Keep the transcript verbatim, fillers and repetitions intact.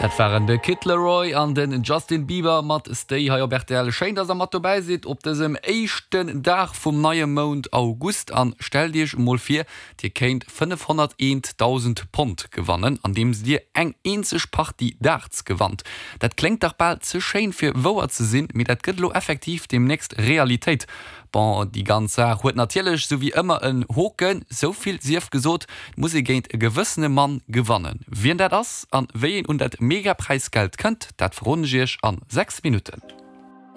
Dat waren de Kid Laroi an den Justin Bieber mat Stay hei op rtl. Schéin, dass der mat dobäi sidd op dësem éischten Dag vum neie Mount August. An stellt iech emol vir, dir kéint fënnefhonnerteent Dausend Pond gewannen, andeems dir eng eenzeg Partie Darts gewannt. Dat kléngt dach bal ze schéin fir wouer ze sinn, mee dat gëtt elo effektiv deemnächst Realitéit. Bon, déi ganz Saach huet natierlech sou wéi ëmmer en Hoken, souvill sief gesot, et muss ee géint e gewëssene Mann gewannen. Wien dat ass an wéi een un dat Mega-Präisgeld kënnt, dat verroden ech iech an sechs Minutten.